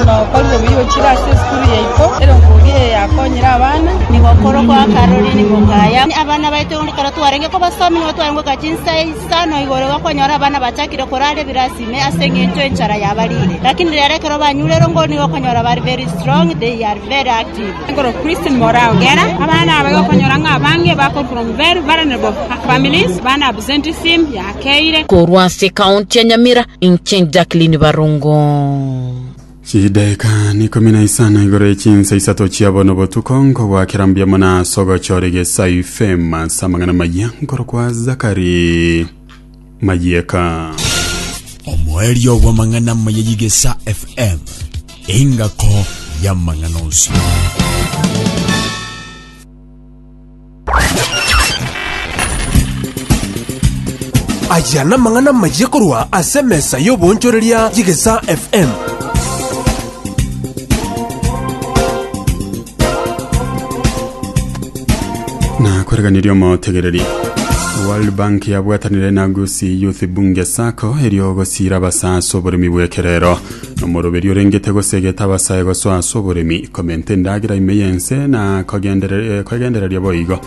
Omwana okorire buya ochire ase esukuru yaito, erongori eye yakonyire abana. Nigo okorokwa Caroline Mokaya. Abana baito ekero twarenge kobasomia nigo twarenge goika chinsa isano igoro igo okonyora abana bachakire korara ebirasi ime ase eng'encho enchara yabarire. Lakini rero ekero banyure erongori nigo okonyora bare very strong, they are very active. Nkorokwa Christine Moraa Ogera. Abana aba igo okonyora ng'a abange bakorwa from very vulnerable families, abana absenteeism yakeire. Korwa ase ekaunti ya Nyamira, inche Jacqueline Barongo. Chidaeka nikomi na isano igoro ye chinsa isato chia bono botuko nkogwakera mbuya mono ase ogochora egesayu FM ase amang'ana maya nkorokwa Zakari Mayieka. Omoerio bw'amang'ana amaya y'Igesa FM, engako y'amang'ana onsi. Aya namang'ana amayia korwa ase emesa y'oboonchoreria y'Egesaa FM. Na kwereganirie omotegereri World Bank yabwatanire na Gusii Youth Bunge Sacco erio gosiira abasae ase oboremi bw'ekerero nomoroberi orengete gosegeta abasae gosoa ase oboremi komenta endagera ime y'ense na kogendereria kogendereria boigo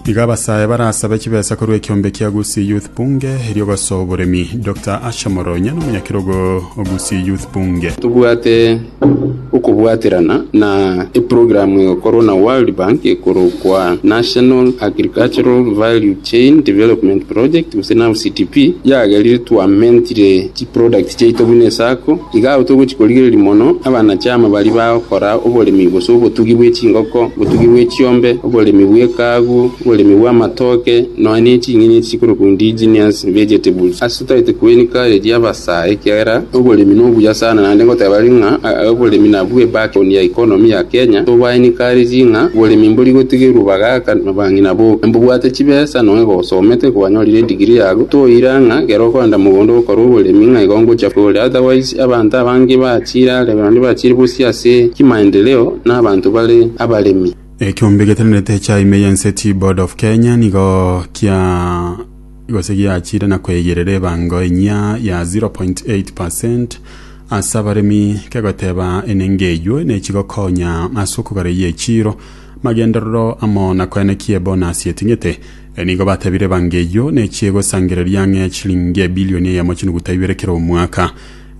Iga abasae barasabe chibesa korwa ekiombe kia Gusii Youth Bunge erio gosoa oboremi. Doctor Asher Moronya nomonyakerogo o Gusii Youth Bunge. Tobwate okobwaterana na eprogramu egokorwa na World Bank ekorokwa National Agricultural Value Chain Development Project gose NAVCDP, yagerire twamentire chiproduct chiaito buna esacco. Iga abwo togochia korigereria mono abanachama baria bagokora oboremi gose obotugi bwe chingoko, obotugi bwe chiombe, oboremi bw'ekaagu, oboremi bw'amatoke, nonya ne ching'eni echi chikorokwa indigenous vegetables. Ase totagete koencourage abasae ekiagera oboremi nobuya sana naende ngoteba bare ng'a oboremi nabwo ebackbone ya economy ya Kenya, toba encourage ng'a oboremi mbori gotigerwa bagaka na bang'ina boka. Mbobwate chibesa nonya gosomete kwanyorire edegree yago, toira ng'a ekero okoenda mogondo gokora oboremi ng'a igo ngochia kore. Otherwise abanto abange bachire are naende bachire bosio ase chimaendeleo na abanto bare abaremi. Ekiombe getenenerete echa ime y'ense Tea Board of Kenya nigo kia gose giachire na koegerera ebango enyia ya 0.8 percent ase abaremi kegoteba enengo eywo nechigokonya ase okogareyia echiro magenderero amo na koenekia ebonasi eting'ete. Nigo batebire ebango eyio nechie gosangereria ang'e chilingi ebilioni eyemo chinuguta ibere kera omwaka.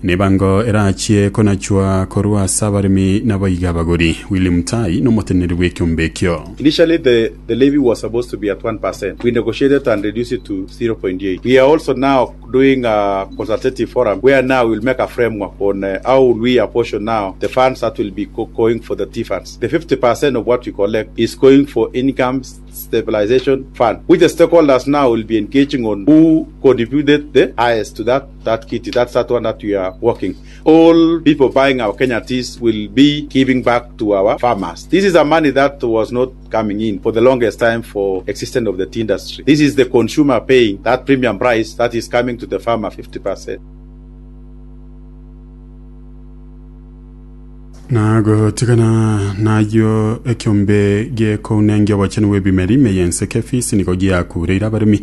Nebango erachie konachwa korwa ase abaremi naboigo abagori. Willy Mutai nomoteneneri bw'ekiombe ekio. Initially the the levy was supposed to be at 1%, we negotiated and reduced it to 0.8. We are also now doing a consultative forum where now we will make a framework on how will we apportion now the funds that will be going for the tea funds. The 50% of what we collect is going for income stabilization fund which the stakeholders now will be engaging on who contributed the highest to that that kitty. That's that one that we are working. All people buying our Kenya teas will be giving back to our farmers. This is a money that was not coming in for the longest time for existence of the tea industry. This is the consumer paying that premium price that is coming to the farmer 50%. Na gotigana nayio ekiombe gekounengia obochenu bw'ebimeri ime y'ense KEPHIS nigo giakureire abaremi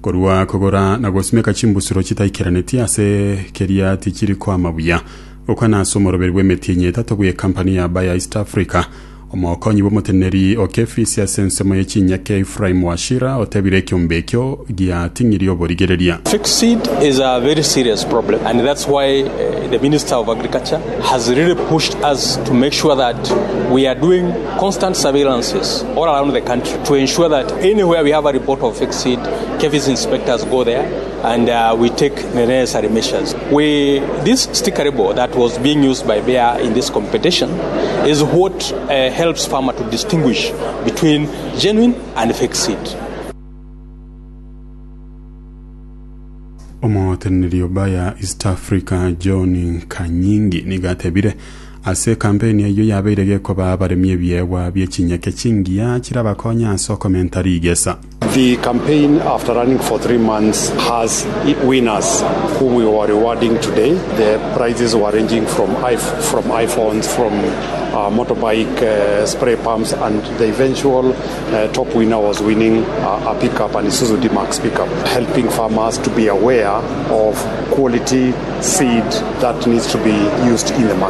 korwa kogora na gosimeka chimbusuro chitaikeranitie ase keria tichiri koama buya. Gokwana ase omoroberi bw'emetienyi etato bw'ekampani ya Bayer East Africa, omokonyi bw'omoteneneri o KEPHIS ase ensemo ye chinyeke Ephraim Wachira otebire ekiombe ekio giating'irie oborigereria. Fake seed is a very serious problem and that's why the Minister of Agriculture has really pushed us to make sure that we are doing constant surveillances all around the country to ensure that anywhere we have a report of fake seed, KEPHIS inspectors go there and uh, we take the necessary measures. We, this sticker label that was being used by Bayer in this competition is what uh, helps farmer to distinguish between genuine and fake seed. Omoteneneri o Bayer East Africa John Kanyingi nigo atebire ase ekampeni eyio yabeire gekoba abaremi ebiegwa bie chinyeke chingiya chirabakonye ase okomenta rigesa. The campaign after running for 3 months has winners whom we were rewarding today. The prizes were ranging from, from iPhones, from motorbike spray pumps, and the eventual top winner was winning a pickup, an Isuzu D-Max pickup, helping farmers to be aware of quality seed that needs to be used in the market.